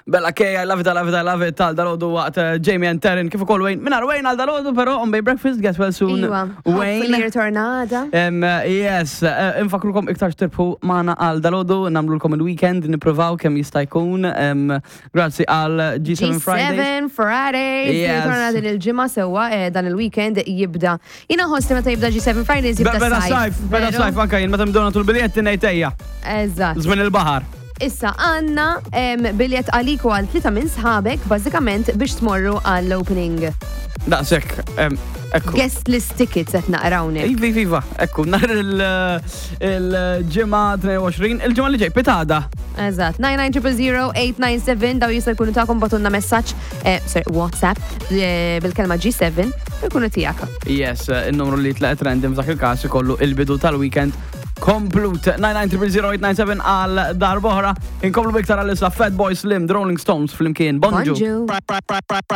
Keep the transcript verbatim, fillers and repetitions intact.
Bella K, I love it, I love it, I love it, tal dalgħodu waqt eh, Jamie and Taryn, kif ukoll Wayne. Mingħajr Wayne għal dalgħodu, però on Bay Breakfast, get well soon. Iwa, Wayne. hopefully ritornata. Um, yes, uh, infakrukom iktar tirbħu magħna għal dalgħodu, nagħmlulkom il-weekend, nippruvaw kemm jista' jkun. Um, grazzi għal G seven Fridays. G seven Fridays. Yes. Ritorna din il-ġimgħa sewwa, eh, dan il-weekend jibda. Jiena nħoss li meta jibda G seven Fridays jibda Beda sajf. sajf, beda Veru? sajf, anka jien meta mdona tul biljetti ngħid ejja. Eżatt. Żmien il-baħar. Issa għandna em, biljet għalik u għal tlieta minn sħabek bażikament biex tmorru għall-opening. Daqshekk, em, ekku. Guest list tickets qed naqrawnek. Iva, iva, iva, ekku, nhar il-ġimgħa tnejn u għoxrin, il-ġimgħa li ġej, pitgħada. Eżatt, nine nine zero zero eight nine seven daw jista' jkunu tagħkom, ibagħtulna messaġġ, eh, sorry, WhatsApp eh, bil-kelma G seven u jkunu tiegħek. Yes, il-numru li tlaqet random f'dak il-każ ikollu il-bidu tal-weekend komplut. nine nine zero zero eight nine seven għal darb'oħra. Inkomplu biktar għal issa Fatboy Slim, The Rolling Stones flimkien. Bonġu. Bonġu.